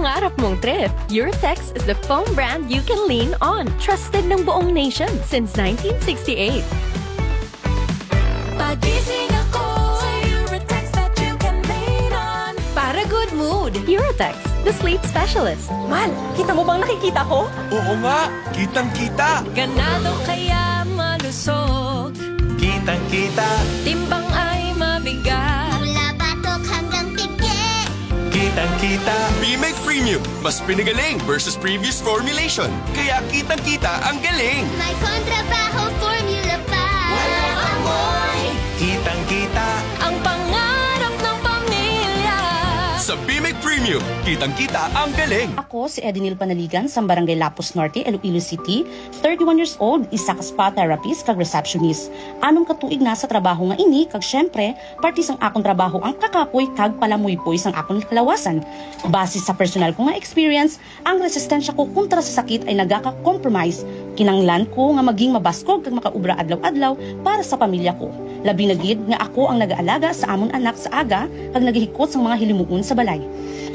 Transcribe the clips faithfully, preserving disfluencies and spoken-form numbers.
Pangarap mong trip? Eurotex is the foam brand you can lean on. Trusted ng buong nation since nineteen sixty-eight. Pagising ako, Eurotex that you can lean on. Para good mood, Eurotex, the sleep specialist. Mal, kita mo bang nakikita ko? Oo nga, kitang-kita. Ganado kaya malusog. Kitang-kita. Timbang ay mabigat. Mula batok hanggang pigi. Kitang-kita. Bimig Premium, mas pinagaling versus previous formulation. Kaya kitang-kita ang galing. May kontrabaho formula pa. Walang amoy. Kitang-kita. Ang pangarap ng pamilya. Sa Bimig Premium, kitang-kita ang galing. Ako si Edinil Panaligan sa Barangay Lapus Norte, Iloilo City, thirty-one years old, isa ka spa therapist kag receptionist. Anom ka tuig na sa trabaho nga ini, kag syempre, parte sang akon trabaho ang kakapoy kag palamuypoy sang akon kalawasan. Base sa personal ko nga experience, ang resistensya ko kontra sa sakit ay nagaka-compromise. Kinanglan ko nga maging mabaskog kag makaobra adlaw-adlaw para sa pamilya ko. Labi na gid nga ako ang nagaalaga sa amon anak sa aga kag nagahikot sang mga hilimuon sa balay.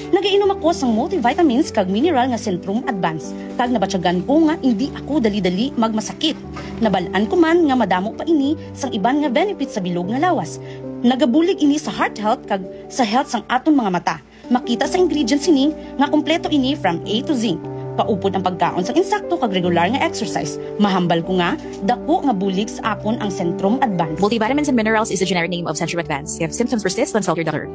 Nagainom ako sang multivitamins kag mineral nga Centrum Advance, kag nabatyagan ko nga indi ako dali-dali magmasakit. Nabal-an ko man nga madamo pa ini sang iban nga benefits sa bilog nga lawas. Nagabulig ini sa heart health kag sa health sang aton mga mata. Makita sa ingredients sini nga kompleto ini from A to Z. Kaupod ang pagkaon sang insakto kag regular nga exercise. Mahambal ko nga dako nga bulig sa akon ang Centrum Advance. Multivitamins and minerals is the generic name of Centrum Advance. If symptoms persist, consult your doctor.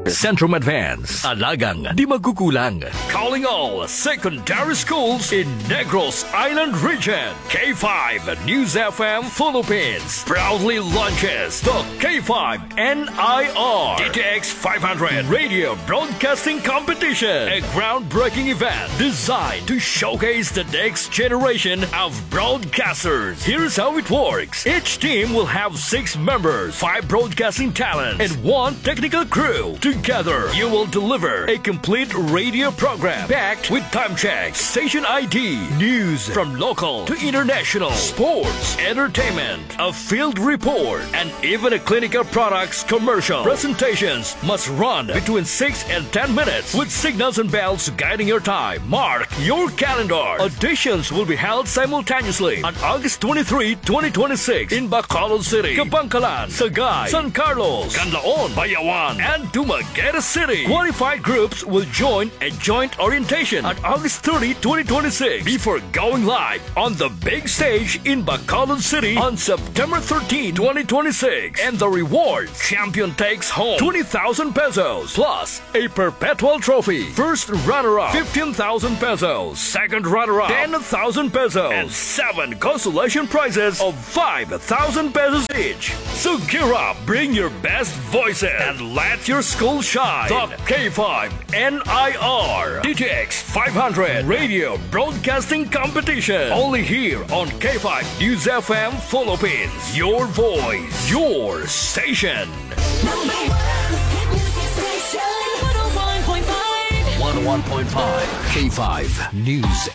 Centrum Advance, alagang di magkukulang. Calling all secondary schools in Negros Island Region. K five News F M Philippines proudly launches the K five N I R D T X five hundred Radio Broadcasting Competition, a groundbreaking event designed to showcase the next generation of broadcasters. Here's how it works. Each team will have six members, five broadcasting talents, and one technical crew. Together, you will deliver a complete radio program packed with time checks, station I D, news from local to international, sports, entertainment, a field report, and even a clinical products commercial. Presentations must run between six and ten minutes with signals and bells guiding your time. Mark your calendar. Auditions will be held simultaneously on August twenty-three, twenty twenty-six in Bacolod City, Kabankalan, Sagay, San Carlos, Canlaon, Bayawan, and Dumaguete City. Qualified groups will join a joint orientation on August thirty, twenty twenty-six, before going live on the big stage in Bacolod City on September thirteen, twenty twenty-six. And the reward: champion takes home twenty thousand pesos plus a perpetual trophy. First runner-up, fifteen thousand pesos. Second runner-up, ten thousand pesos. And seven consolation prizes of five thousand pesos each. So gear up, bring your best voices, and let your school shine. The K five N I R D T X five hundred Radio Broadcasting Competition. Only here on K five News F M Philippines. Your voice, your station. Number one hit music station, one oh one point five. One oh one point five K five News.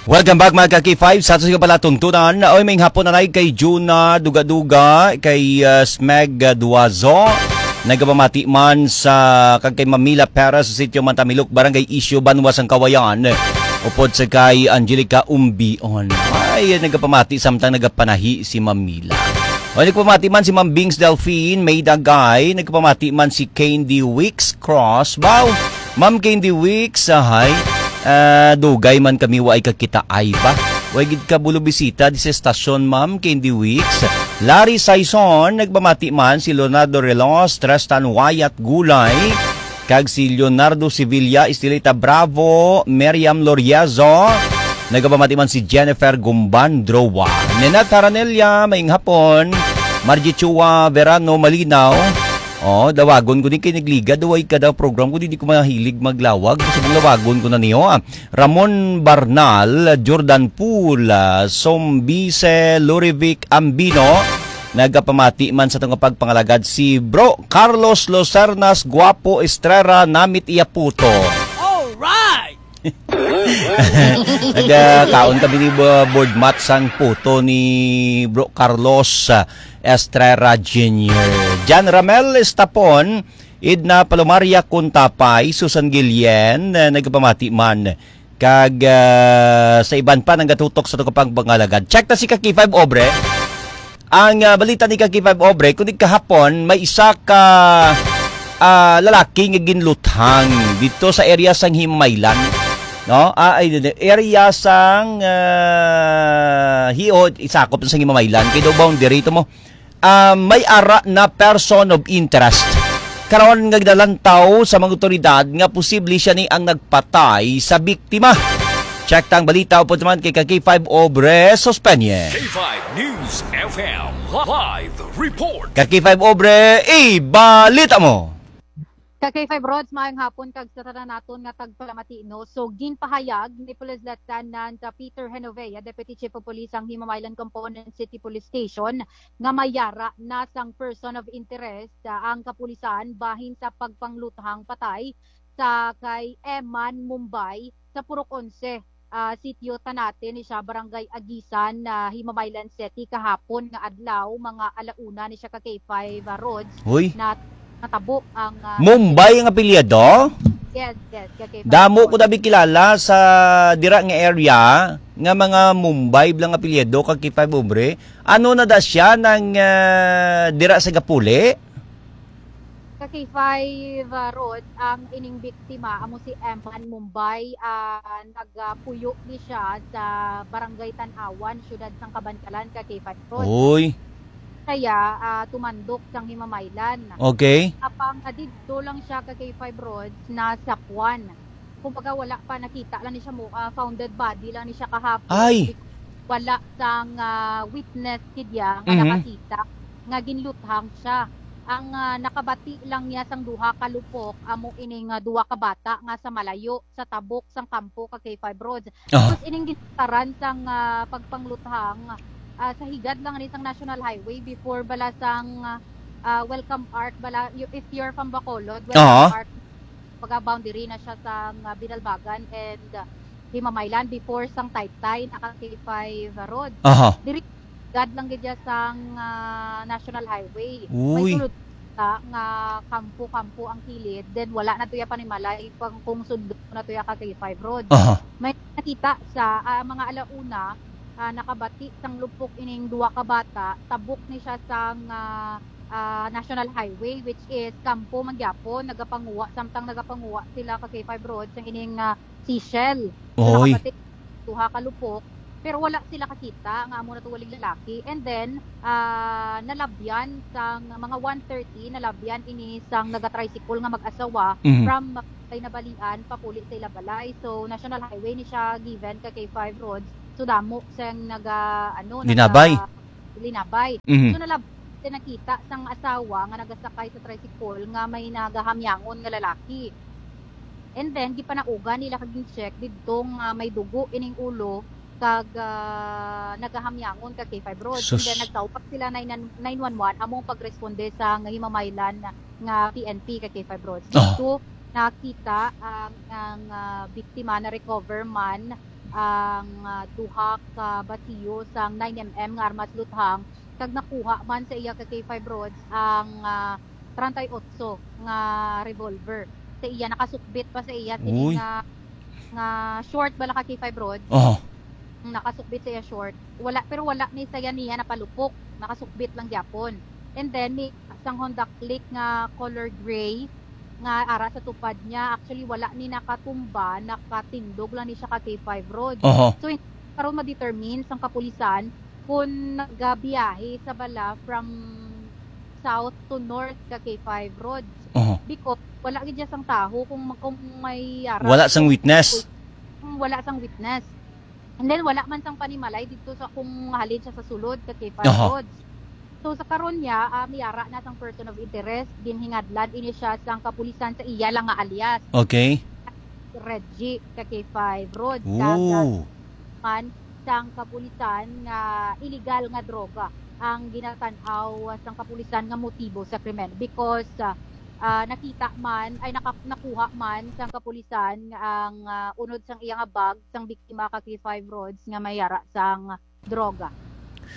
Welcome back, mga ka-K five, sa ato sa palatuntunan. Oy, may hapon na kay Juna Duga-Duga, kay, uh, Smeg, uh, Duazo. Nagapamati man sa kag kay Mamila Perez sa Sitio Mantamilok, Barangay Isyo, Banwa sang Kawayan. Upod sa kay Angelica Umbion. Ay, nagapamati samtang nagapanahi si Mamila. O, nagpamati man si Ma'am Bings Delphine, May Dagay, nagpamati man si Candy Wicks Cross. Baw, Ma'am Candy Wicks, ahay, ah, dugay man kami wa ay kakitaay ba? Way gid ka bulo bisita di sa estasyon, Ma'am Candy Wicks. Larry Saison, nagpamati man si Leonardo Relos, Tristan Wyatt Gulay, kag si Leonardo Sevilla, Estelita Bravo, Miriam Loriezo, nagapamati man si Jennifer Gumban Droa. Nenat Haranella, maayong hapon. Margie Chua Verano Malinaw. Oh, dawagon ko din kay nagligad, way kada program ko, di, di ko mahilig maglawag. Gusto kong lawagon ko na niyo, ah. Ramon Barnal, Jordan Pool, ah, Sombise Lurivic Ambino, nagapamati man sa atong pagpangalagad si Bro Carlos Lucernas Guapo Estrera, namit iya puto. Alright! Nagakaon kami ni Bo-, Board Mat sang puto ni Bro Carlos, ah, Estrera Junior. Jan Ramel Estapon, Edna Palomaria Kuntapay, Susan Guillen, eh, nagapamati man. Kag, ah, sa iban pa nagatutok sa tukupang pangalagad. Check ta si ka K five Obre. Ang, ah, balita ni ka K five Obre, kundi kahapon, may isa ka, ah, lalaki nga ginluthang dito sa area sang Himamaylan. No? Ah, ay, area sang, ah, Hiot, isakop sa Himamaylan. Kay daw boundary to mo. Ah, may ara na person of interest. Karon nga ginalantaw sa mga otoridad nga posible siya ni ang nagpatay sa biktima. Check tang balita upod naman kay ka K five Obre Sospenye. K five News F M live report. Ka K five Obre, ibalita mo. Ka K five Rods, maayong hapon kag sa tanan naton nga tagpalamati, no? So, ginpahayag ni Police Lieutenant, uh, Peter Genovea, Deputy Chief of Police sang Himamaylan Component City Police Station, nga may ara na sang person of interest, uh, ang kapulisan bahin sa pagpangluthang patay sa kay Eman Mumbai sa Purok Onse, ah, sitio Tanate ni siya, Barangay Agisan, ah, Himamaylan City, kahapon nga adlaw, mga ala una ni siya ka K five, ah, Rods, Hoy. Na natabo ang, ah, Mumbai ang apelyido? Yes, yes, ka K five Damo ko Rods. Nabi kilala sa dira nga area nga mga Mumbai blang apelyido ka K five Obre. Ano na da siya nang, ah, dira sa Gapuli? Ka K five, ah, Rod, ang ining biktima amo si Eman Mumbai, ah, nagapuyo ni siya sa Barangay Tanawan, siyudad sang Kabankalan, ka K five Rod. Uy. Kaya, ah, tumandok sang Himamaylan. Okay. Apang, ah, didto lang siya ka K five Rod, nasapwan. Kumbaga, wala pa, nakita lang ni siya mo, ah, founded body lang ni siya kahapon. Ay! Wala sang, ah, witness kidya nga Mhm. nakakita nga ginluthang siya. Ang, ah, nakabati lang niya sang duha ka lupok, amo ining, ah, duha ka bata nga sa malayo, sa tabok sang kampo ka K five Roads. Aha. Tapos ining gintaran sang, ah, pagpangluthang, ah, sa higad lang ni sang National Highway before bala sang, ah, Welcome Arc, bala, y-, if you're from Bacolod, Welcome Aha. Arc, pagka-boundary na siya sa, ah, Binalbagan and, ah, Himamaylan before sang Taytay, naka K five road. Aha. Diri, gad lang gid siya sang, ah, National Highway. May Uy. sulod ka nga kampo-kampo ang kilid, then wala na tuya panimalay pang kung sundon na tuya ka K five road. Aha. May nakita sa, ah, mga alauna, ah, nakabati sang lupok ining duha ka bata, tabok ni siya sang, ah, ah, National Highway, which is kampo man gyapon, nagapanguha, samtang nagapanguha sila ka K five road sang ining, ah, seashell. So, Oy. Nakabati duha ka lupok, pero wala sila kakita nga amo na to waling lalaki. And then, ah, nalabyan sang mga one thirty, nalabyan ini sang naga-tricycle nga mag-asawa Mhm. from Kainabalian papuli sa ila balay. So, National Highway ni siya given ka K five roads. So, damo sang naga, ano, Linabay. naga-, linabay. Mhm. So, nalab-, sa nakita sang asawa nga nagasakay sa tricycle nga may nagahamyangon nga lalaki. And then, gipanaugan nila kag gin-check didto nga may dugo ining ulo kag, ah, nagahamyangon ka K five road. Sus. And then, nagtawag sila nine, nine one one among pagresponde sa nga Himamaylan nga P N P ka K five road. Ah. Dito, nakita ang, ang, ah, biktima na-recover man ang, ah, duha ka basiyo sang nine M M nga armas luthang, kag nakuha man sa iya ka K five Roads ang, ah, treinta y ocho nga revolver. Sa iya, nakasukbit pa sa iya sini Uy. nga, nga short bala ka K five Roads. Aha. Nakasukbit sa iya short. Wala, pero wala ni sa iya niya napalupok. Nakasukbit lang gyapon. And then, may sang Honda Click nga color gray nga ara sa tupad niya. Actually, wala ni nakatumba, nakatindog lang ni siya ka K five road. Aha. So, hin-, karon ma-determine sang kapulisan kung nagabiyahe sa bala from south to north ka K five road. Aha. Because wala gid siya sang taho kung, kung may ara. Wala sang witness. Kung wala sang witness. And then, wala man sang panimalay dito sa kung halin siya sa sulod ka K five Aha. roads. So, sa karon niya, ah, may ara na sang person of interest, ginhingadlan ini siya sang kapulisan sa iya lang nga alias. Okay. Reggie ka K five roads. Ooh. Kag, ah, man sang kapulisan nga illegal nga droga ang ginatan-aw sang kapulisan nga motibo sa krimen because, ah, ah, nakita man, ay naka-, nakuha man sang kapulisan nga ang, ah, unod sang iya nga bag sang biktima ka K five roads nga may ara sang droga.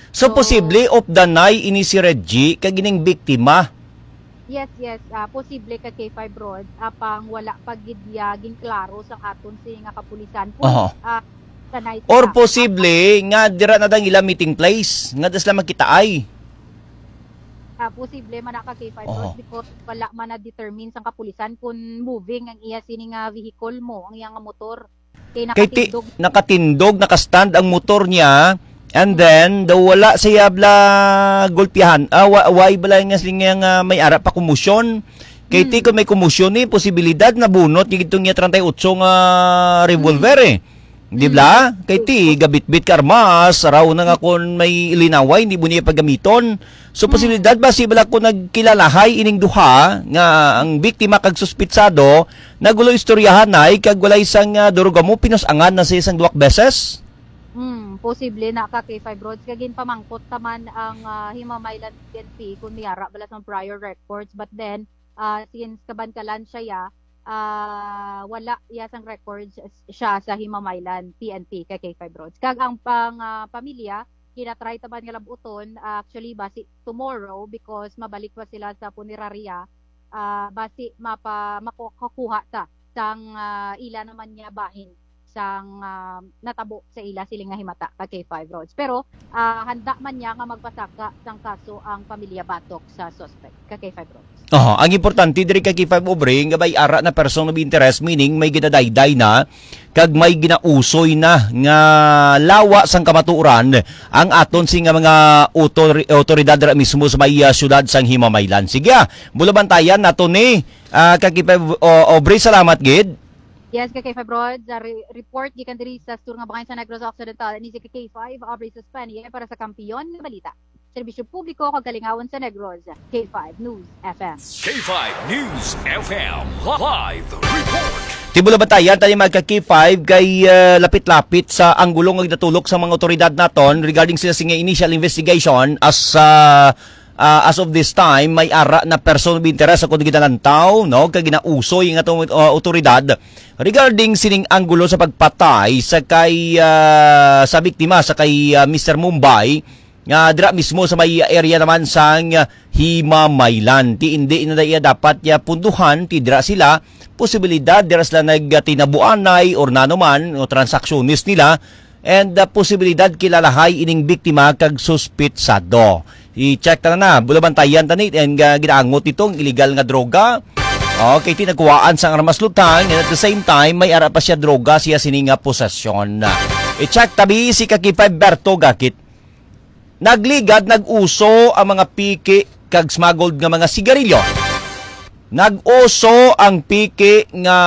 So, So, posible off the nai ini si Reggie kag ining biktima. Yes, yes, ah, posible ka K five Rods, apang wala pa gid ya ginklaro sang aton sini nga kapulisan kung, Aha. ah, sanay Or sila. posible nga dira na dang ila meeting place, nga da sila magkitaay. Ah, posible man na ka K five Aha. Rods because wala man na-determine sang kapulisan kung moving ang iya sini nga vehicle mo, ang iya nga motor. Kay Kay ti-, nakatindog. nakatindog, nakastand ang motor niya, and then, daw wala siya bala gulpihan. Ah, wa-, why bala nga siya nga may ara pa kumusyon? Kay ti, Hmm. kung may kumusyon ni, posibilidad na bunot yung itong niya treinta y ocho nga revolver Hmm. eh. Di Hmm. ba? Kay ti, gabitbit ka armas, araw na nga kung may linaway, hindi mo niya pagamiton. So, Hmm. posibilidad ba si bala ko nagkilalahay ining duha nga ang biktima kag suspitsado, nagulo istoryahanay kag walay sang, ah, durog amo, pinusangan na siya sang duwak beses? Hmm, posible na ka kay five roads. Kag ginpamangkot taman ang, ah, Himamaylan P N P kung may ara bala sang prior records. But then, ah, since kabankalan siya, ya, ah, wala ya sang records siya sa Himamaylan P N P kay K five Roads. Kag ang pang, ah, pamilya, ginatry taman nga labuton, ah, actually, basi tomorrow because mabalik pa sila sa punerarya, ah, basi mapa-, makukuha ta sang, ah, ila naman niya bahin sang, ah, natabo sa ila siling nga himata ka K five Roads. Pero, ah, handa man niya nga magpasaka sang kaso ang pamilya batok sa suspect ka K five Roads. Oho, ang importante diri ka K five Obring nga may ara na person of interest, meaning may ginadayday na kag may ginausoy na nga lawa sang kamatuoran ang aton sini nga mga otori-, otoridad ra mismo sa may, ah, siyudad sang Himamaylan. Sige, ah, bulabantayan nato ni, ah, ka K five, o, Obring, salamat gid. Yes, ka K five Rods, ah, re-, report gikan diri sa Sur nga Bangay sa Negros Occidental, ni si ka K five, Aubrey Suspenie para sa Kampiyon nga Balita. Serbisyo publiko kag kalingawan sa Negros, K five News F M. K five News F M live report. Ti bulabantayan tani, mga ka K five, kay, ah, lapit-lapit sa anggulo nga ginatulok sa mga otoridad naton regarding sila sini nga initial investigation as, ah, ah, as of this time, may ara na person of interest akong ginalantaw, no? Kag ginausoy nga atong, ah, otoridad regarding sining anggulo sa pagpatay sa kay, ah, sa biktima, sa kay, ah, Mister Mumbai, nga dira mismo sa may area naman sang Himamaylan. Ti indi na iya dapat ya punduhan, ti dira sila, posibilidad dira sila nagtinabuanay or nano man, o transaksyunis nila, and, ah, posibilidad kilalahay ining biktima kag suspitsado. I-check ta na na, bulabantayan ta ni, and, ah, ginaangot nitong illegal nga droga. Okay, ti nagkuhaan sang armas lutang, and at the same time, may ara pa siya droga siya sini nga posesyon. I-check tabi si ka K five Berto Gakit. Nagligad, nag-uso ang mga piki kag smuggled nga mga sigarilyo. Nag-uso ang piki nga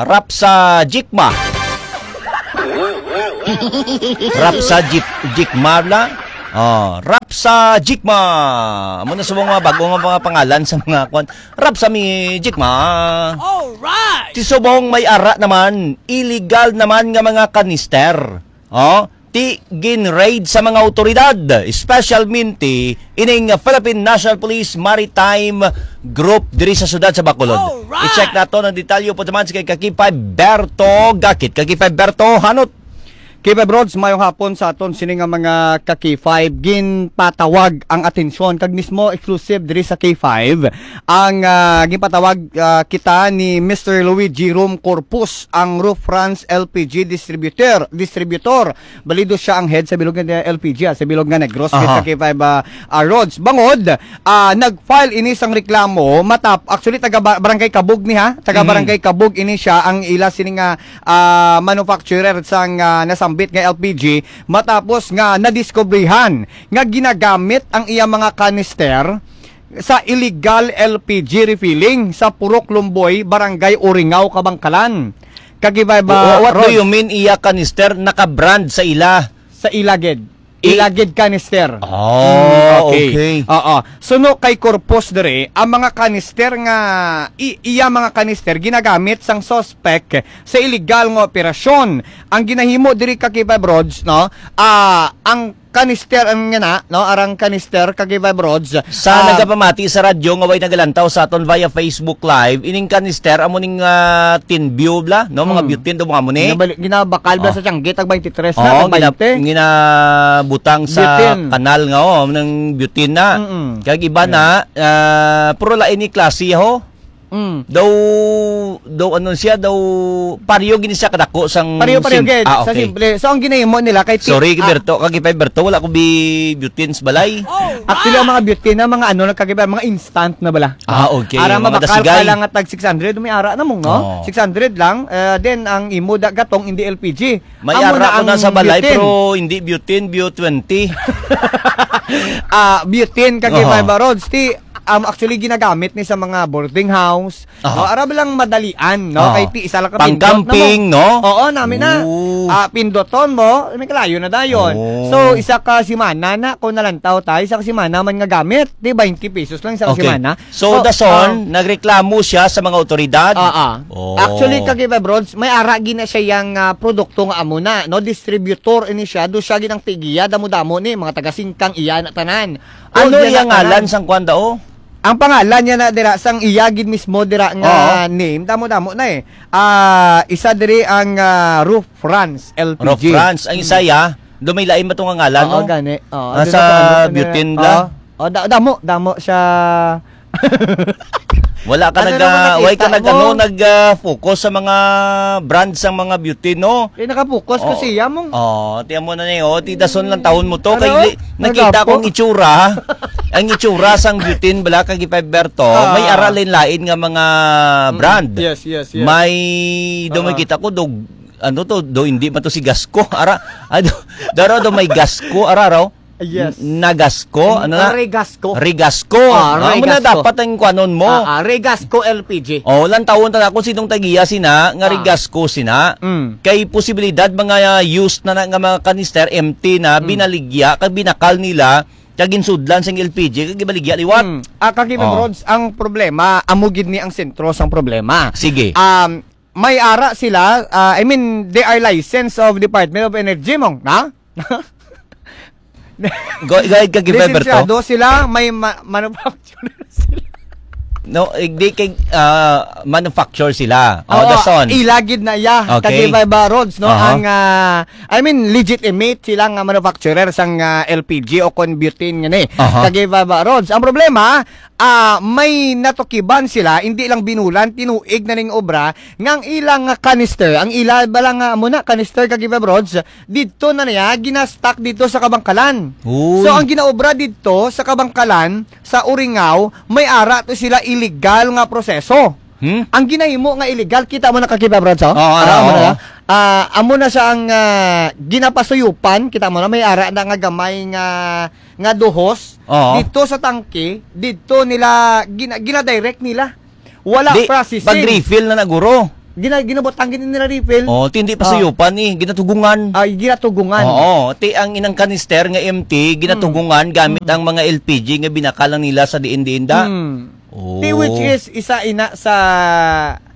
rap sa jikma. Rap sa jik-, jikma bala? Oh, rap sa jikma. Amo na subong mga bago nga mga pangalan sa mga kwan. Rap sa mi jikma. Alright! Ti subong may ara naman, illegal naman nga mga kanister. Oh, ti gin-raid sa mga awtoridad, specialmente ining Philippine National Police Maritime Group diri sa siyudad sa Bacolod. Alright! I-check nato ang detalye po naman sa kay Kakipay Berto Gakit. Kakipay Berto, hanot. K five Rods, mayong hapon sa aton sini nga mga ka K five. Ginpatawag ang atensyon kag mismo exclusive diri sa K five ang, ah, ginpatawag, ah, kita ni Mister Luigi Rom Corpus, ang Roof France L P G distributor, distributor. Balido siya ang head sa bilog nga L P G, ah, sa bilog nga Negros, Aha. K five, ah, ah, Rods. Bangod, ah, nag-file ini sang reklamo, matap-, actually, taga ba-, Barangay Kabug ni, ha? Taga Mhm. Barangay Kabug ini siya, ang ila sini nga, ah, manufacturer sang, ah, nasambit nga L P G, matapos nga nadiskubrihan nga ginagamit ang iya mga kanister sa illegal L P G refilling sa Purok Lumboy, Barangay Uringaw, Kabangkalan. Kagibay ba, Wha-, what do Rods? You mean, iya kanister naka-brand sa ila? Sa ila gid. I- Ila gid kanister. Oh, Mm, okay. Okay. Oo. Suno kay Corpus diri, ang mga kanister nga, i-, iya mga kanister ginagamit sang suspect sa illegal nga operasyon. Ang ginahimo diri ka K five Rods, no? Ah, ang Kanister ang nga na, no? Arang kanister, kag Vibe Rods. Sa Ah, nagapamati sa radyo nga way nagalantaw sa aton via Facebook Live, ining kanister, amo ning, ah, tin view bla, no? Mga Hmm. butane daw, mga amo ni. Ginabali-, ginabakal ba Oh. sa tiyanggi, tag twenty-three na, Oo, tag gina-, twenty? ginabutang sa Butane. kanal nga, oh, ng butane na. Mm-mm. Kag iba Yeah. na, ah, pero lain ni klase, ho. Mm. Daw, daw ano siya, daw pareho gini siya kadako sang Pareho, pareho, sim-, gid, ah, sa okay. simple. So, ang ginahimo nila kay ti-, Sorry, ah, Berto. Kag ipay Berto, wala ko bi-, butane sa balay. Actually, ang mga butane na mga ano, nagkagiba, mga instant na bala. Ah, okay. Ara, Mga mabakal ka dasigan. lang at tag six hundred, may ara na mong, no? Oo. Six hundred lang. Eh, then, ang imo da, gatong, hindi L P G. May Amo ara na ko na ang sa balay, butane. pero hindi butane, bu twenty. Ah, butane, kag Oo. Vibe Rods. Ti, um, actually, ginagamit ni sa mga boarding house. Aha. No, ara ba lang madalian, no? Ah. Kay ti isa lang ka Pang pindot na mo. camping, no? Oo, nami na. Oo. Ah, pindoton mo, may kalayo na dayon. Oo. So, isa ka semana na, kung nalantaw tayo, isa ka semana man nga gamit, di twenty pesos lang isa ka Okay. semana. So, Oh, dason, ah. nagreklamo siya sa mga otoridad? Ah, ah. Oh. Actually, kag Vibe Rods, may ara gina siya yang, ah, produkto nga amo na, no? Distributor ini siya, do siya ginang tigiya, damo-damo ni, mga taga Singkang iya na tanan. Ano Oh, iya iyang na tanan. ngalan sang kwan dao? Ang pangalan niya na dira, sang iya gid mismo dira nga Oo. name, damo-damo na eh. Ah, isa diri ang, ah, Roof France L P G. Roof France. Ang Mm. isa ya, do may lain ba to nga ngalan, Oo, no? gani. Oo, Ah, di sa ba kung ano, ano butane na? bla? Oo. Oh, da-, damo, damo siya. Wala ka Ano nag, naman ah, why nakita ka nag, mo? ano, nag, ah, focus sa mga brand sang mga butane, no? Eh, nakapokus ko Oh. siya mong. Oh, tiyan mo na ni, oh, ti dason lang taon mo to. Ano? Kay di, nakita Nagapo. kong itsura. Ang itsura sang butane bala kag Vibe Berto, Ah. may ara lain-lain nga mga Mm. brand. Yes, yes, yes. May, do Ah. may kita ko, do, ano to, do hindi man to si Gasco. Ara, ano, daro do may Gasco, ara raw. Yes. N-, Nagasco, ano na? Regasco. Regasco. Ah, Ah, amo na Regasco. dapat ang kuanon mo. Ah, ah, Regasco L P G. Oh, lang tawon ta na kung sinong tagiya sina, nga Ah. Regasco sina. Mm. Kay posibilidad mga used na, na nga mga kanister, empty na, Mm. binaligya, kag binakal nila, kag ginsudlan sang L P G, kag gibaligya liwat. Mm. Ah, kag Vibe Oh. Rods, ang problema, amo gid ni ang sentro sang problema. Sige. Um, may ara sila, ah, I mean, they are licensed of Department of Energy, mong, na? Go, go ahead, kag Vibe Berto. Lisensyado sila, may ma-, manufacturer sila. No, eh, di kay, ah, manufacture sila. Oh, Oo, dason. Ilagid na iya. Okay. Kag Vibe Rods, no? Aha. Ang, ah, I mean, legitimate sila nga manufacturer sang, ah, L P G o kon butane nga ni. Aha. Kag Vibe Rods. Ang problema, ah, may natukiban sila, hindi lang binulan, tinuig na ning obra, nga ang ilang nga canister, ang ila bala nga amo na, canister kag Vibe Rods, didto na niya, ginastock didto sa Kabangkalan. Uy. So, ang ginaobra didto sa Kabangkalan, sa Uringaw, may ara to sila illegal nga proseso. Hmm? Ang ginahimo nga illegal, kita mo na kag Vibe Rods, oh? Oo, ara, Ah, amo na oo. na. Ah, amo na siya ang, ah, ginapasuyupan, kita mo na, may ara na nga gamay nga, nga duhos. Oo. Didto sa tangke, didto nila, gina-, gina-direct nila. Wala Di, processing. pag-refill na na, guro. Gina-, ginabutang gid nila refill. Oh, ti hindi pa Ah. suyupan eh, ginatugungan. Ay, ginatugungan. Oo, ti ang inang kanister nga empty, ginatugungan gamit Mm. ang mga L P G nga binakal lang nila sa diin-diin da. Mm. Oh. Ti which is isa ina sa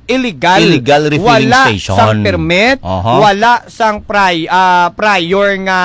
illegal. Illegal refilling Wala station. sang permit, Aha. wala sang pri-, ah, prior nga,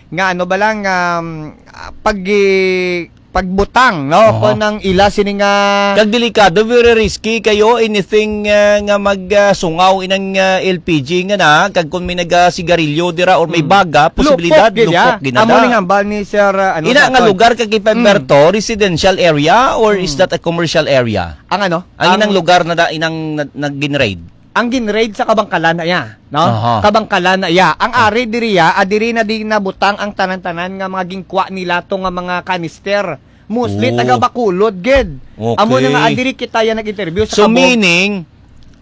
nga ano ba lang, um, ah, pag-, pagbutang, no? Aha. Kung ang ila sini nga Kag delikado, very risky kayo, anything, ah, nga mag, ah, sungaw inang, ah, L P G nga na, kag kung may naga-sigarilyo dira or may Mm. baga, posibilidad, Lupok gid, lupok ya. gid na Amo da. ning hambal ni Sir, ah, ano, Ina nga Daton. lugar kag kay Mm. Pemberto, residential area or is Mm. that a commercial area? Ang ano? Ang inang Ang lugar na da, inang na, nag-raid? Ang ginraid sa Kabangkalan na iya, no? Aha. Kabangkalan na iya. Ang Ah. ari diri ya, ah, diri na di nabutang ang tanan-tanan nga mga gingkwa nila to nga mga kanister. Mostly Oh. taga Bacolod gid. Okay. Amo na nga, ah, diri kita ya nag-interview sa So, Kabog. meaning,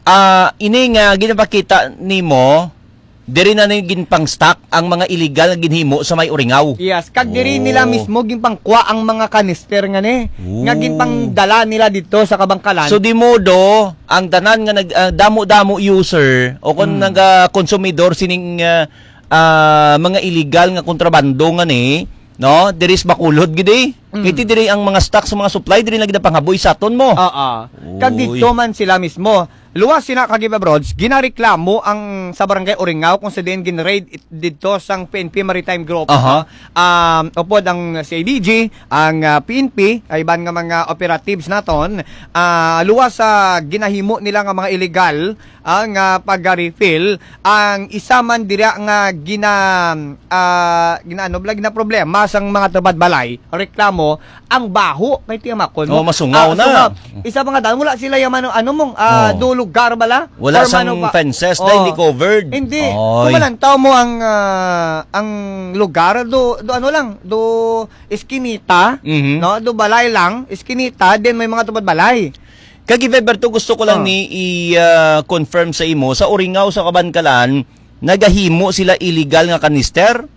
ah, ini nga ginapakita nimo, diri na ni ginpang-stock ang mga illegal nga ginhimo sa may Uringaw. Yes, kag diri Oh. nila mismo ginpangkwa ang mga kanister nga ni, nga Oh. ginpangdala nila dito sa Kabangkalan. So, di modo, ang tanan nga nag-, ah, damo-damo user o kon Mm. naga-konsumidor sining, ah, ah, mga illegal nga kontrabando nga ni, no? Diri sa Bacolod gid eh. Mm. Kay ti diri ang mga stock sa mga supply, diri na gid ang panghaboy sa aton mo. Oo. Kag Uy. dito man sila mismo, Luwas sina, Kagiba Brods, ginareklamo ang sa Barangay Uringaw kung sa diin gin-raid it-, didto sang P N P Maritime Group. Aha. Um, upod ang C I D G, ang, ah, P N P, ay iban nga mga operatives naton, ah, luwas sa ginahimo nila nga mga illegal ang, ah, pag-refill, ang isa man dira nga gina-, ah, ginaano bala, ginaproblema sang mga tubad balay, reklamo, ang baho kay tiyamakon mo. Oh, masungaw Ah, na. sungaw. Isa pa nga daw, wala sila yung ano, ano mong, ah, Oh. do lugar bala? Wala Or sang mano ba? fences, Oh. na hindi covered. Hindi. Oy. Kung malantaw mo ang, ah, ang lugar, do, do ano lang, do iskinita, Mhm. no? Do balay lang, iskinita, then may mga tubad balay. Kag Eberto, gusto ko lang Oh. ni i, ah, confirm sa imo, sa Uringaw, sa Kabankalan, nagahimo sila illegal nga kanister?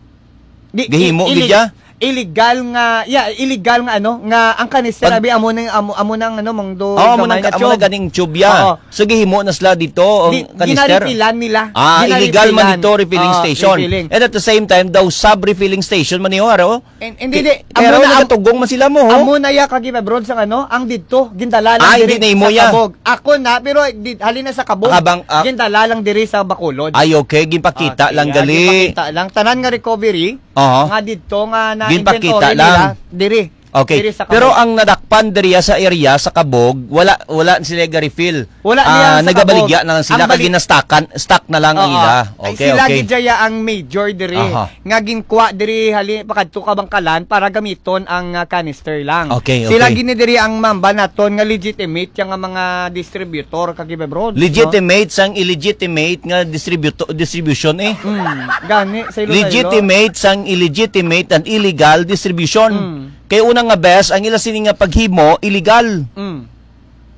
Di, Gahimo i-, gid illeg-, ya? illegal nga, yeah, illegal nga ano, nga ang kanister Pag abi amo nang, amo, amo nang ano, mong do Oh, amo gamay nang, nga amo nang tube. ganing tube ya. Oo. So, gihimo na sila dito, ang Di, kanister? ginaripilan nila. Ah, illegal man Ginaripilan. dito, refilling Oo, station. refilling. And at the same time, daw sub-refilling station man niyo, aro? And, hindi, Di-, di. pero Amo na, am-, nagatugong man sila mo, ho? amo na ya, Kagiba Brods, ang ano, ang dito, gindala lang Ah, diri hindi na imo sa ya. Kabog. Ako na, pero di, halin na sa Kabog, Abang, ah. gindala lang diri sa Bacolod. Ay, okay, ginpakita Ah, lang kaya gali. ginpakita lang. Tanan nga recovery, Aha. nga dito nga na Ginpakita inventory lang. nila, diri. Okay. Diri sa Pero Kabog. ang nadakpan diriya sa area sa Kabog, wala, wala sila ga-refill. Wala Ah, niya sa nagabaligya Kabog. na lang sila, Ang kag bali- ginastakan, stock na lang ang Oo. ila. Ay, Okay, sila okay. gid jaya ang major diri. Aha. Nga ginkwa diri hali pakadto Kabangkalan para gamiton ang, ah, canister lang. Okay, Sila okay. gini diri ang mamba naton nga legitimate yang mga distributor, Kagiba Brods, no? Legitimate sang illegitimate nga distributo-, distribution eh. Hmm, gani sa Iloilo. Legitimate sang illegitimate and illegal distribution. Hmm. Kay una nga bes, ang ila sini nga paghimo, illegal. Mm.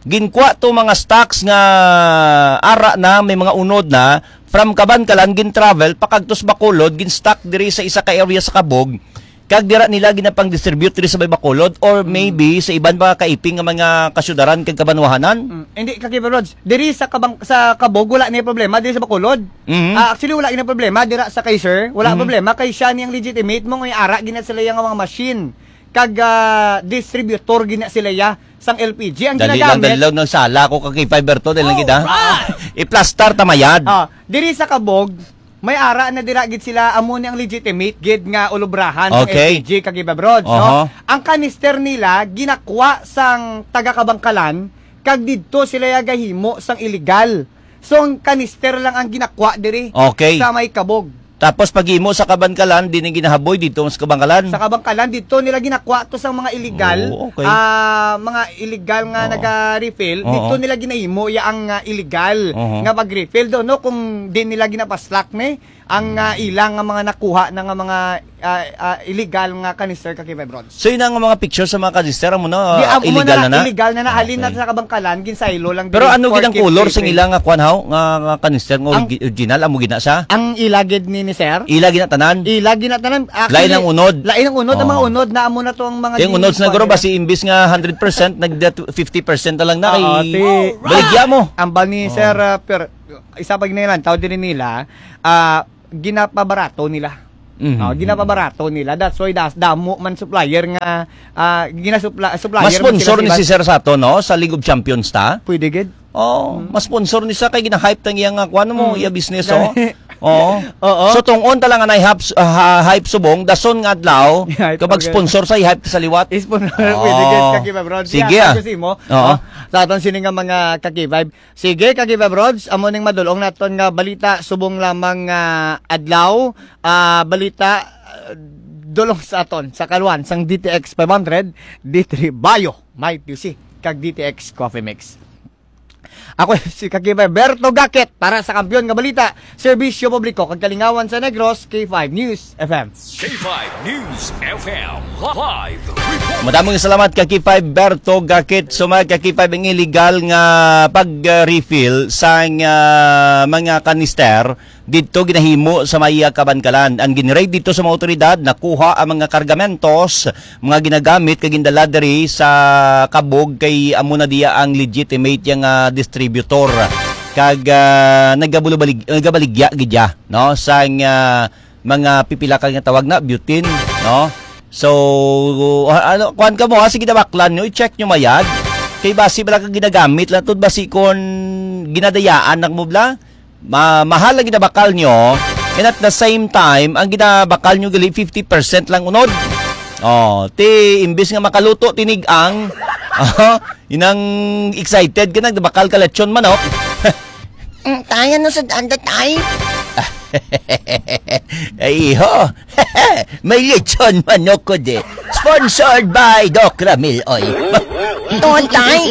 Ginkwa to mga stocks nga ara na, may mga unod na, from Kabankalan, gin-travel, pakagtos Bacolod, gin-stock diri sa isa ka area sa Kabog, kag dira nila ginapang-distribute diri sa may Bacolod, or Mm. maybe sa iban mga kaiping nga mga kasyudaran kag kabanwahanan. Mm. Hindi, Kagiba Brods, diri sa Kabang-, sa Kabog, wala ni problema, diri sa Bacolod. Mhm. Ah, actually, wala ni problema, dira sa Kaiser, wala Mm. problema, kay siya niyang legitimate mo, nga ara gina sila yung mga machine. Kag, ah, distributor gina sila ya sang L P G. Ang Dali lang, ginagamit dali lang, nagsala ako kag K five Berto, dali lang kita. Alright! Iplastar ta mayad. Ah, diri sa Kabog, may ara na dira gid sila, amo ni ang legitimate gid nga ulubrahan sang Okay. L P G, Kagiba Brods, no? Aha. Ang kanister nila ginakwa sang taga Kabangkalan, kag didto sila ya gahimo sang illegal. So, ang kanister lang ang ginakwa diri Okay. sa may Kabog. Tapos paghimo sa Kabankalan, di na ginahaboy dito sa Kabankalan. Sa Kabankalan, dito nila ginakwa to sa mga illegal, Oo, okay. ah, mga illegal nga Oo. naga-refill, Oo. dito nila ginahimo ya ang, ah, illegal Oo. nga pag-refill do, no? Kung di nila ginapaslak ni ang, ah, ilang nga mga nakuha na nga mga, ah, ah, illegal nga canister, Kagiba Brods. So, yun ang mga picture sa mga canister, amo na, Di, ah, amo illegal na na, na na? illegal na na. Halin na Okay. sa Kabangkalan, ginsaylo lang Pero diri ano gid ang four K color sing shipping. ila nga kwan, haw? Nga, nga canister nga Ang origi-, original, amo gid na siya? Ang ila gid ni, ni sir? Ila gid na tanan? Ila gid na tanan. Actually, Lain ang unod? lain ang unod. Ang mga Oo. unod na amo na to ang mga Yung gin-, unod sa kwan nagro ba nila. si imbis nga hundred percent, nag fifty percent na lang na Oo, kay ti- baligya mo. Ambal ni Oo. sir, ah, per-, isa pa ginalantaw diri nila, ah, ginapabarato nila. Mhm. Oh, ginapabarato nila. That's why das, damo man supplier nga, ah, ginasupla-, supplier Mas man sila sponsor sa ni iba. si Sir Sato, no? Sa League of Champions ta? Pwede gid. Oh, Mm. mas sponsor ni siya kay gina-hype tang iya nga kuan mo, Mm. iya business, oh. Gani. Oo. Oo. So, tong-on ta lang anay hype, ah, hype subong, dason nga adlaw, Hype, kapag okay. sponsor sa hype sa liwat. Sponsor, pwede gid, Oh. Kagiba Brods. Sige, Yan, ah. sabi ko sa imo, Oo. oh, sa aton sini nga mga Kagiba. Sige, Kagiba Brods, amo ning madulong naton nga balita subong lamang nga adlaw. Ah, balita, ah, dulong sa aton, sa kaluan, sang D T X five hundred, D three Bayo, Mighty C, kag D T X Coffee Mix. Ako si Kagiba Berto Gakit para sa Kampiyon nga Balita, Serbisyo Publiko kag Kalingawan sa Negros, K five News F M. K five News F M live report. Madamong salamat, ka K five Berto Gakit. So, mga ka K five, ang illegal nga pag-refill sa, ah, mga kanister didto ginahimo sa may, ah, Kabankalan. Ang ginraid didto sa mga otoridad, nakuha ang mga kargamentos, mga ginagamit kag gindala diri sa Kabog, kay amo na diya ang legitimate yang, ah, distributor. Kag, ah, nagabulo-balig-, nagabaligya gid ya, no? Sa, ah, mga pipila ka nga tawag na butane, no? So, ah, ano, kuan ka mo, ha? Sige, nabaklan nyo, i-check nyo mayad. Kay basi bala ka ginagamit lang to, basi kon ginadayaan na mo bala, ma-, mahal ang ginabakal nyo, and at the same time, ang ginabakal nyo gali fifty percent lang unod. Oh, ti imbis nga makaluto tinig-ang, oh, inang excited ka, nagbakal ka lechon manok. Mm, tay, ano sa danda, tay? Ay, iho. May lechon manok ko di. Sponsored by Doc Ramil, oy. Tuon, tay.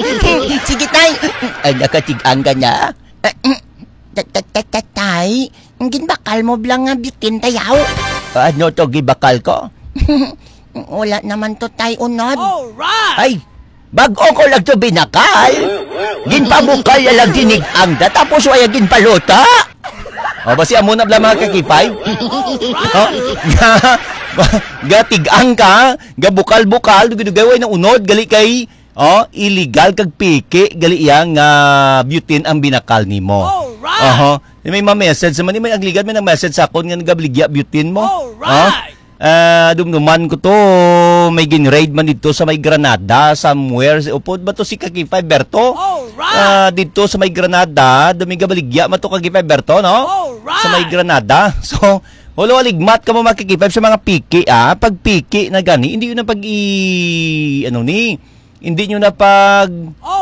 Sige, tay. Ay, nakatig-ang ka na? Ah, mm. Ta-, ta-, ta-, ta-, tay, ang ginbakal mo bala nga bitin, tayaw? Ano to gibakal ko? Wala naman to, tay, unod. Ay, bag-o ko lang to binakal. Ginpabukal na lang tinig-ang da, tapos wala ginpaluto. O, basi amo na bala, mga kakipay. O, ga, ga tigang ka, ga bukal-bukal, dugay-dugay, way na unod, gali kay, o, illegal kag piki, gali iya nga butane ang binakal nimo. Oho. May ma-message naman, may ang ligat, may nag-message sa akon nga nagabaligya butane mo. O? Ah, dumduman ko to, may gin-raid man dito sa may Granada, somewhere. Upod ba to si Kakipay Berto? Ah, dito sa may Granada, dumigabaligya man to Kakipay Berto, no? Sa may Granada. So, wala, waligmat ka mo, mga Kakipay, sa mga piki, ah. Pag piki na gani, hindi yun ang pag i-, ano ni, hindi nyo na pag,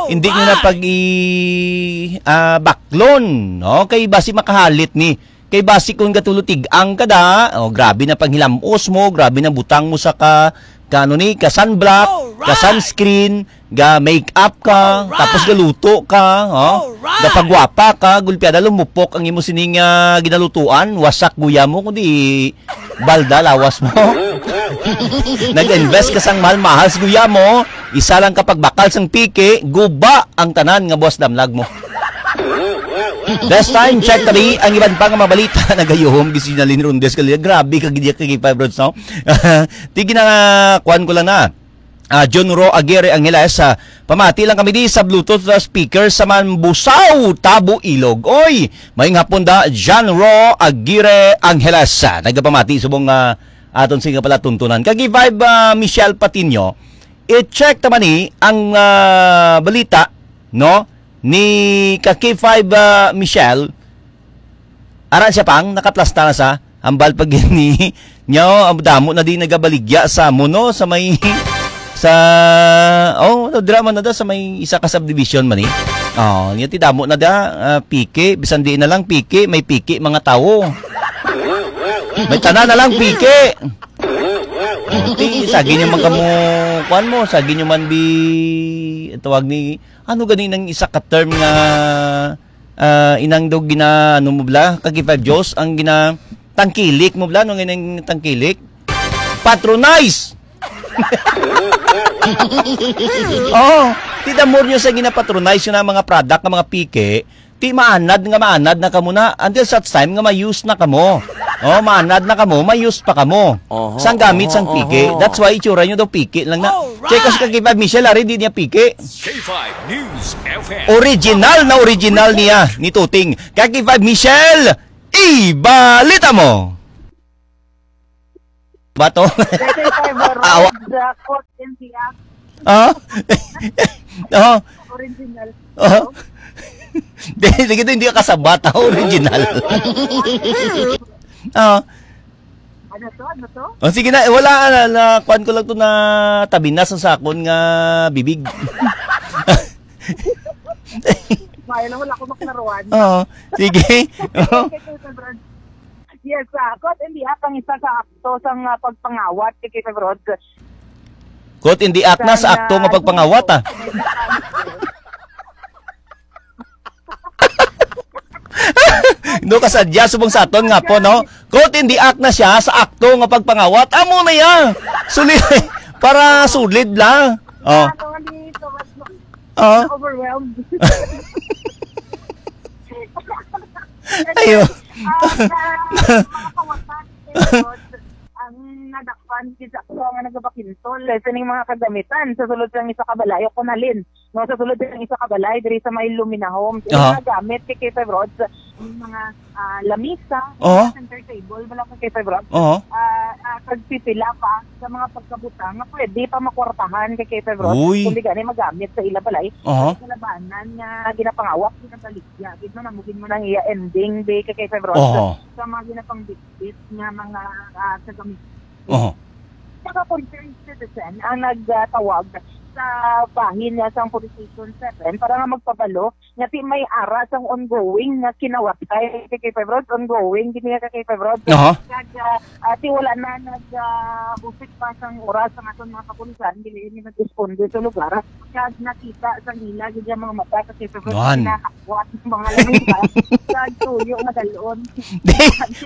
hindi nyo na pag i-, ah, baklon, no? Kay basi makahalit ni. Kay basi kung gatulo tigang ka da, oh, grabe na panghilamos mo, grabe na butang mo sa ka, ka ano ni, ka sunblock, ka sunscreen, ga make up ka, tapos galuto ka, oh, gapagwapa ka, gulpiada lumupok ang imo sining, ah, ginalutuan, wasak guya mo, kundi balda lawas mo. Nag-invest ka sang mahal-mahal sa guya mo, isa lang ka pagbakal sang piki, guba ang tanan nga buwas damlag mo. This time, check tabi ang iban pa nga mga balita. Nagayuhom, gid si Nalin Rondes Galea. Grabe ka, gid ka, K five Rods, no? Tige na nga, kuwan ko lang na. Ah, John Ro Aguirre Angeles, ah, pamati lang kami di sa Bluetooth, ah, speaker sa Manbusaw, Tabo, Ilog. Oy, maayong hapon da, John Ro Aguirre Angeles. Ah, nagapamati subong, ah, aton sing palatuntunan. Kag K five, ah, Michelle Patino, i-check ta man ni ang, ah, balita, no? Ni ka K five, ah, Michelle, ara siya pang nakaplasta na sa hambal pa gini. Nyo, ang damo na di nagabaligya sa mo, no? Sa may, sa, oh, no, drama na da sa may isa ka subdivision man eh. Oh, nyo ti damo na da, ah, piki, bisan di na lang piki, may piki, mga tawo. May tanan na lang piki. Oh, ti, sagi nyo man kamo, kuwan mo, sagi nyo man bi, tawag ni, ano gani nang isa ka term nga, ah, inang daw gina, ano mo bla, ka K five Diyos, ang gina, tangkilik mo bla, ano nga nang tangkilik? Patronize! Oh, ti the more nyo sa gina-patronize yun ang mga product, ang mga piki, ti maanad nga maanad na kamo na until such time nga ma-use na kamo. Oh, maanad na kamo, ma-use pa kamo. Oho, sang gamit oho, sang piki. Oho. That's why itsura nyo daw piki lang na. Alright. Check ko si Kakipad Michelle, ari, di niya piki. K five News F M. Original na original niya ni Tuting. Kakipad Michelle, ibalita mo. Bato. K five Awa. Road, the court in the act. Ah? Oh. Original. Oh. Di, di kita hindi ka kasabat, ah, original. Ah. Ano to? Ano to? Oh, sige na, wala na, na kuan ko lang to na tabi na sa sakon nga bibig. Mahal na wala ko maklaruan. Oo. Sige. Yes, ah, caught in the act ang isa sa akto sang, ah, pagpangawat kay K five Rods. Caught in the act na sa akto nga pagpangawat, ah. No, kasadya subong sa aton nga po, no? Caught in the act na siya sa akto nga pagpangawat. Amo na ya. Suli-, para sulid lang. Oh. Oh. Overwhelmed. Ayo. Ah, sa mga kawatan, ang nadakpan gid sa ako nga nagapakintol, eh, sining mga kagamitan sa sulod sang isa ka balay o kunalin, no, sa sulod sang isa ka balay diri sa may Lumina Homes. Ilang Aha. mga gamit kay K five Rods, yung mga, ah, lamisa, Oo. Center table, wala ka kay Febron. Oo. Ah, ah, kag pipila pa sa mga pagkabutang nga pwede pa makwartahan kay, kay Febron. Uy. Kung di gani magamit sa ila balay, Aha. Sa labanan nga ginapangawat, ginabaligya. Gid mo na, mugin mo nang iya ending, be, kay, kay Febron. Aha. Sa, sa mga ginapangbitbit nga mga, ah, sa gamit. Aha. Mga concerned citizen ang nagtawag sa bahin nga sang Police Station seven para nga magpabalo nga ti may ara sang ongoing nga kinawatay kay, kay Febron, ongoing gid nga kay Febron. Aha. Kag, ah, ah, ti wala na nag, ah, husik pa sang oras ang aton mga kapulisan, dili ni nag-responde sa lugar. Kag nakita sa ila gid ang mga mata kay Febron Nuan. Kinakakwat ng mga lamisa. Kag tuyo madalon. Di,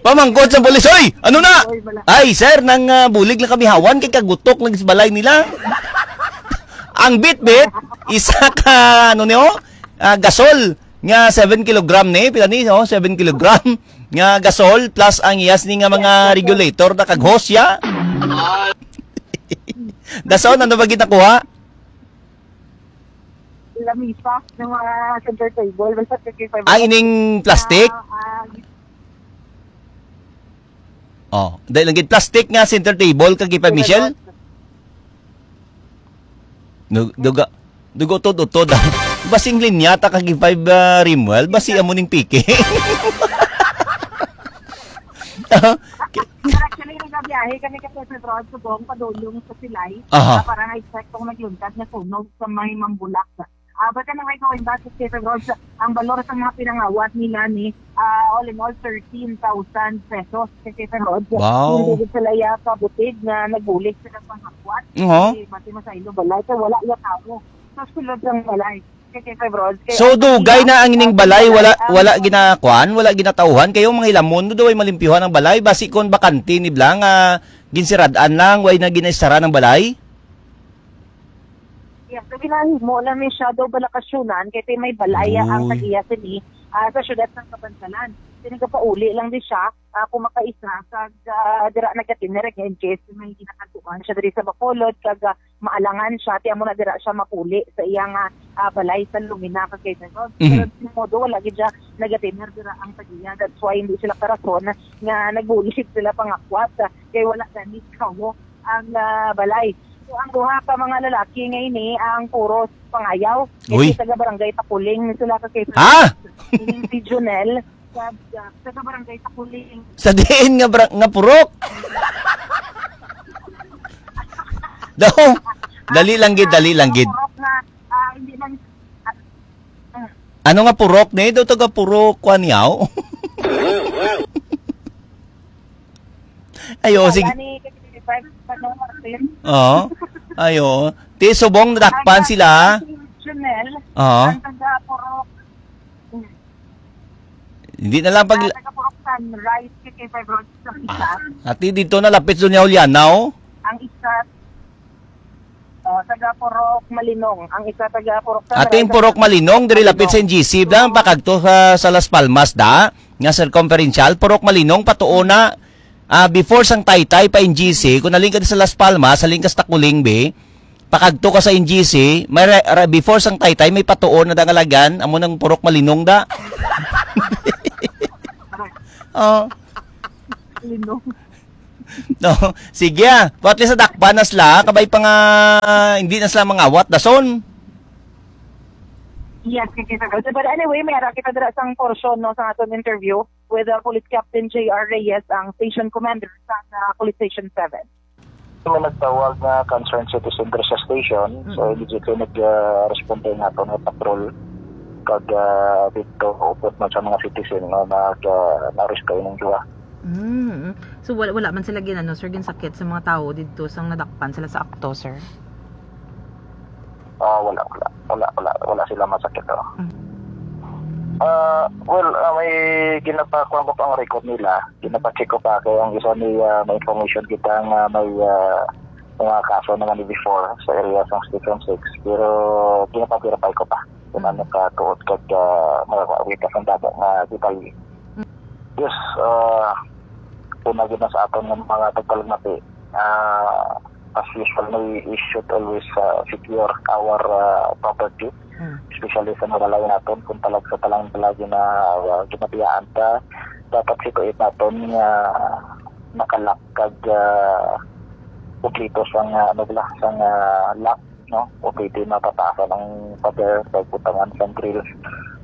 pamangkot sa pulis, "Oy, ano na?" Oy, wala. "Ay, sir, nang, ah, bulig lang kami hawan kay kagutok lang sa balay nila." Ang bitbit, isa ka, ano niyo, ah, gasol nga seven kilogram ni, pila ni, oh, seven kilogram nga gasol plus ang iyas ni nga mga regulator na kag hose, ya. Dason, ano ba ginakuha? Lamisa ng mga center table, basta fifty-five. Ah, ining plastic? Ah, ah, Oh, dahil lang gid plastic nga center table kag five, Michelle? Dug-, duga, dugo utod-utod. Basing linya ta kag five, ah, Rimwell, basi amo ning piki. Actually, nagabiyahe kami kay Sir Rod subong padulong sa Silay. Aha. Ah, para nga exact kung nagluntas nga sunog sa may Mambulak. Ah, but anyway, going back to Stephen Rhodes, ang balor sa mga pinangawat nila ni, ah, all in all, thirteen thousand pesos kay Stephen Rhodes. Wow. Hindi gid sila iya kabutig nga nagbulig sila panghakwat. Oo. Kay basi masaylo balay, kay wala iya tawo. So, sulod ang balay kay Stephen Rhodes. Kay So, ang dugay pila, na ang ining ah, balay, wala, ang wala ginakuan, wala ginatauhan. Kayo, mga hilamon, no, daw ay malimpyuhan ang balay. Basi kon bakante ni bla nga ginsirad-an lang, way na ginaistara ng balay? Yes, so ginahimo lang ni siya daw balakasyonan kay ti may balaya ang Uy. Tag-iya sini, ah, sa siyudad sang Kabansalan. Sini gapauli lang di siya, ah, kung makaisa kag, ah, dira nagatiner nga in case may ginakatuan siya diri sa Bacolod kag, ah, maalangan siya, ti amo na dira siya mapuli sa iya nga, ah, balay sa Lumina, kag kay Dagon. Mhm. Pero di modo, wala gid siya nagatiner dira ang tag-iya. That's why hindi sila karason nga nagbulig sila pangakwat, ah, kay wala gani kawo ang, ah, balay. So, ang duha ka mga lalaki nga ini ang puros pangayaw. Uy. Kay taga Barangay Takuling ni sila ka kay Ha? Ining si Junel, sa, sa, taga Barangay Takuling. Sa diin nga bra-, nga purok? Daw, dali lang gid, dali lang gid. Purok na, ah, hindi lang, ah, mm. Ano nga purok ni? Daw taga purok, kwan yaw? Ayo, Wala sige. Ni, kasi five, ano, Martin? Oo. Ayo. Ti subong nadakpan Ay, sila. Si Junel, Oo. Ang taga Purok. Hmm. Hindi na lang pag Ah, taga Purok Sunrise, kay five Road sa isa. Ah, ati dito na lapit doon niya Juliana, oh. Ang isa, oh, taga Purok Malinong. Ang isa taga Purok Sunrise. Ating Purok Malinong, diri lapit sa Malinong. N G C, bla, pakagto sa, sa Las Palmas, da. Nga circumferential, Purok Malinong, patuo na, ah, before sang Taytay pa N G C, kung naling ka sa Las Palmas, saling ka sa Takuling, be, pakagto ka sa N G C, may re-, re-, before sang Taytay, may patuo na da nga lagan, amo nang Purok Malinong da. Oh. Malinong. No, sige, ah. But at least nadakpan na sila, kabay pa nga, hindi na sila mangawat, dason. Yes, kay kita. But anyway, may ara kita dira sang portion, no, sa aton interview with, uh, Police Captain J R Reyes, ang station commander sa, uh, Police Station seven. May nagtawag nga concerned citizen diri sa station. So, Mm. immediately nag, uh, respond tayo nato nga patrol. Kag, uh, dito, upod man sa mga citizen nga nag, uh, na-arrest kayo ng duwa. Mm. So, wala, wala man sila gin-, ano, sir, ginsakit sa mga tao dito sang nadakpan sila sa akto, sir? Ah, wala, wala. Wala, wala, wala sila masakit, oh. Mm. Ah, well, ah, may ginapakuha ko ang record nila. Ginapacheck ko pa kay ang isa ni, ah, may information kita nga may, ah, mga kaso naman ni before sa area sa Station six. Pero ginapaverify ko pa kung ano ka tuod kag, ah, makakawita sa data nga detalye. Mm. Yes, ah, una gid na sa aton nga mga tagpalamati. Ah, as usual, we, we should always, ah, secure our, ah, property. Mm. Especially sa mga layo naton, kung talag sa talang palagi na, ah, ginabiyaan ta, dapat siguruhon naton nga nakalak kag, ah, kumpleto sang, ah, ano bala, sang, ah, lock, no? O pwede mapatasan ang pader kag butangan sang grills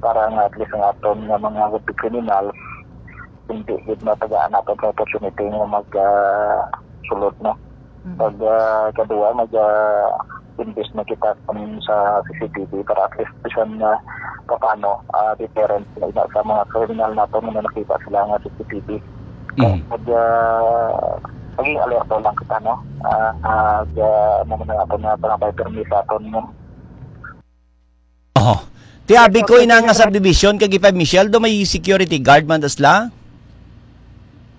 para nga at least ang aton nga mga would-be criminals hindi gid matagaan naton sa opportunity nga mag, ah, sulod, no? Mhm. Pag, ah, kadua, mag, ah, invest na kita kun sa C C T V para at least bisan na paano, ah, deterrent na ina sa mga kriminal naton nga nakita sila nga C C T V. Mhm. Pag, ah, maging alerto lang kita, no? Ah, ah, ga-, ano man ang aton nga pangabay permi sa aton, no? Oh. Ti abi ko ina nga subdivision kag K five Michelle, do may security guard man dasla?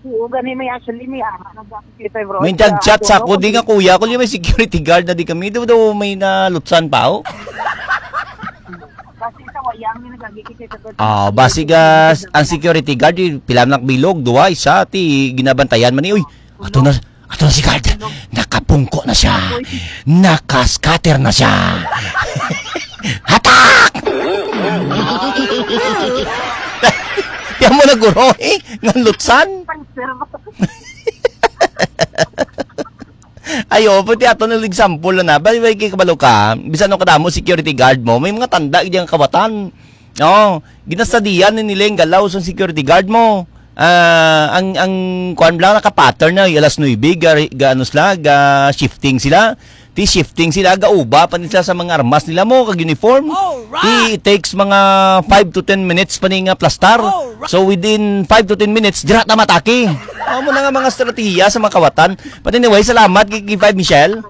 Oo, gani may actually may ama nag-apit kay Roy. May nag-chat sa ako, di nga kuya, ko may security guard na di kami. Do, do may nalutsan pa, oh. Kasi sa wayang may nagagikit sa Ah, basi gas, ang security guard, eh, pila man bilog, duwa, isa, ti ginabantayan man ni, uy, ato na, ato na si guard. Nakapungko na siya. Naka-scatter na siya. Hatak! Tiyan mo na, guro, eh, ngalutsan. Ayo, pati ato na example na, bali, bali, kay kabalo ka, bisan no kadamo security guard mo, may mga tanda gid ang kawatan. Oh, ginastadian ni nila yung galaw sa security guard mo. Ah, ang, ang kuan lang, naka-pattern na, alas nuebe, ga, ga, ano sila, ga shifting sila. Ti shifting sila, gauba pa nila sa mga armas nila mo, kag uniform. Alright! Ti it takes mga five to ten minutes pa ni nga plastar. Alright! So within five to ten minutes, dira ta matake. Amo na nga mga estratehiya sa mga kawatan. But anyway, salamat kay, kay Five Michelle.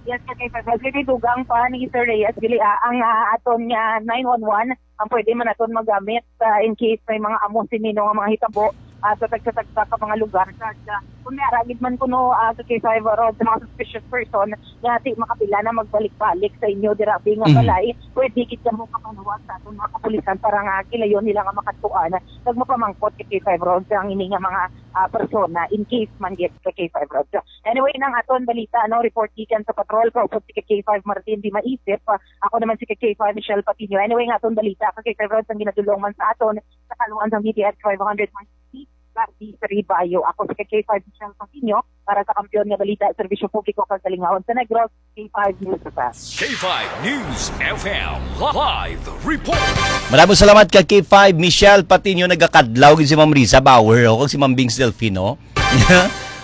Yes, kay Five Michelle. Dugang pa ni Sir Reyes, dili, ah, ang, ah, aton nga nine one one, ang pwede man naton magamit, ah, in case may mga amo sini nga mga hitabo, ah, sa tagsa-tagsa ka mga lugar. Sa, sa, kung may aragid man kuno, ah, sa K five Road sa mga suspicious person, nga di makapila na magbalik-balik sa inyo dira, bi nga Mhm. balay, pwede gid kamo kapanuwag sa aton mga kapulisan para nga kilayon nila nga makatuan kag mapamangkot sa K five Road sa ang ini nga mga, ah, persona in case man gid sa K five Road. So, anyway, nang aton balita, no, report gikan sa patrol, kaupod si K five Martin di maisip. Ah, ako naman si K five Michelle Patino. Anyway, nga aton balita, K five Road ang ginadulong man sa aton sa kaluan sang D T H five hundred one sixty, Gardi sa Ribayo. Ako si K five Michelle Patino para sa Kampiyon nga Balita, Serbisyo Publiko kag Kalingawan sa Negros, K five News F M. K five News F M live report. Maraming salamat ka K five Michelle Patino, nagakadlaw gid si Ma'am Risa Bauer, o, kag si Ma'am Bings Delfino.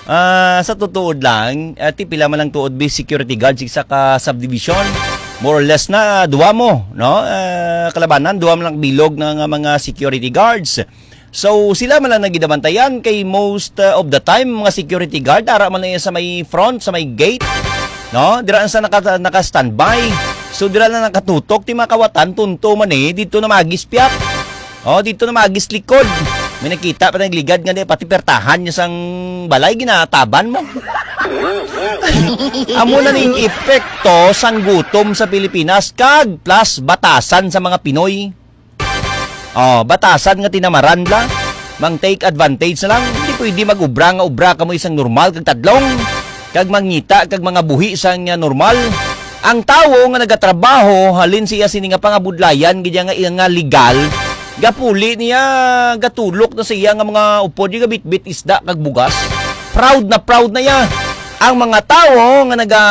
Ah, sa tutuod lang, ati pila man lang tuod bi security guards isa ka subdivision. More or less na duwa mo, no? Ah, kalabanan, duwa man lang bilog na nga mga security guards. So, sila man lang nagidabantayan kay most, uh, of the time, mga security guard, ara man na sa may front, sa may gate, no? Dira sa naka-, naka-standby. So, dira na nakatutok, ti mga kawatan, tunto man eh, dito na magispyat. Oh, dito na magis likod. May nakita pa nagligad nga di, pati pertahan niya sang balay, ginataban mo. Amo na ning epekto sang gutom sa Pilipinas, kag plus batasan sa mga Pinoy. Oh, batasan nga tinamaran la. Mang take advantage na lang. Hindi pwede mag-ubra nga ubra kamo isang normal kag tadlong. Kag mangita kag mga buhi sa nga normal. Ang tawo nga nagatrabaho, halin siya sini nga pangabudlayan, gid nga, nga legal, gapuli niya, gatulok na sa iya nga mga upod, yung gabitbit isda kag bugas. Proud na proud na iya. Ang mga tawo nga naga